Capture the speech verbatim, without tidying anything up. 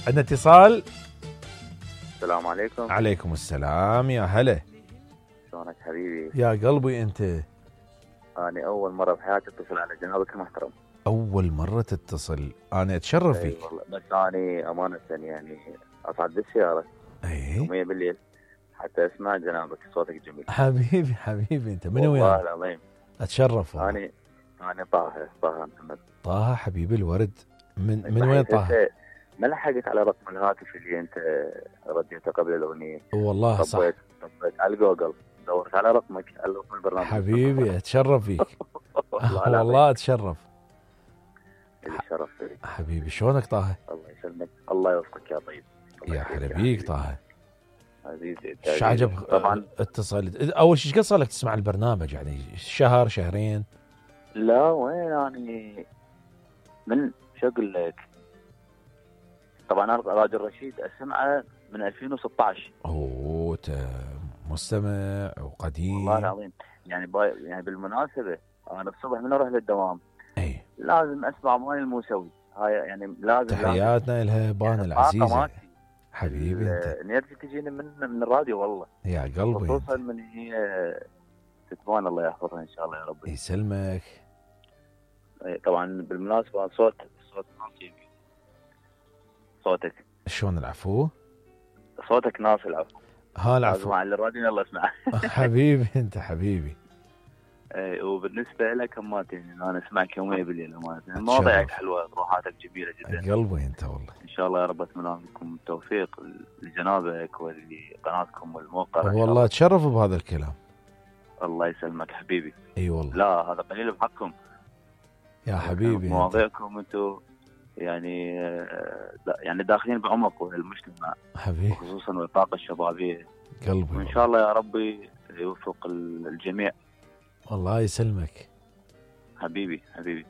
عندنا اتصال. السلام عليكم. عليكم السلام، يا هلا. شلونك حبيبي؟ يا قلبي انت. أنا أول مرة بحياتي أتصل على جنابك المحترم. أول مرة تتصل، أنا أتشرف فيك. أي والله، بس أنا أمانة يعني أصعد بالسيارة أي يوميا بالليل حتى أسمع جنابك، صوتك جميل حبيبي. حبيبي أنت من وين؟ والله العظيم أتشرف والله. أنا أنا طه طه محمد. طه حبيبي الورد. من من وين طه؟ ما لحقت على رقم الهاتف اللي أنت رديته قبل الأغنية. والله صح. طبيت طبيت على جوجل، دورت على رقمك على رقم البرنامج. حبيبي أتشرف فيك. والله أتشرف. الشرف فيك حبيبي. شلونك طه؟ الله يسلمك، الله يوفقك يا طيب. يا حبيبيك طه. عزيزي ايش عجب طبعا اتصل. اول شيء ايش قد صار لك تسمع البرنامج؟ يعني شهر شهرين؟ لا وين يعني من شو اقول لك، طبعا انا راجل رشيد اسمعه من ألفين وستة عشر. اوه مستمع وقديم والله العظيم. يعني باي يعني بالمناسبه انا الصبح من اروح للدوام اي لازم اسمع مال الموسوي هاي، يعني لازم تحياتنا لها بان يعني العزيزه حبيبي انت. نرجع تجيني من من الراديو والله يا قلبي، خصوصا من هي ستبان الله يحفظها ان شاء الله يا رب يسلمك. طبعا بالمناسبه صوت صوت ناصي، صوتك شلون العفو؟ صوتك ناصي العفو. ها العفو مع الراديو يلا اسمع. حبيبي انت حبيبي. اي وبالنسبه لك همات يعني انا اسمعك يوميا بالليل امانه، مواضيعك حلوه، روحاتك جميله جدا. قلبي انت والله. ان شاء الله يا رب اتمنى لكم التوفيق لجنابك ولقناتكم والموقع. والله اتشرف بهذا الكلام. الله يسلمك حبيبي. اي والله. لا هذا قليل بحقكم يا حبيبي. مواضيعكم انتم يعني يعني داخلين بعمق المجتمع حبيبي، خصوصا والطاقه الشبابيه. قلبي وان شاء الله يا ربي يوفق الجميع. الله يسلمك حبيبي حبيبي.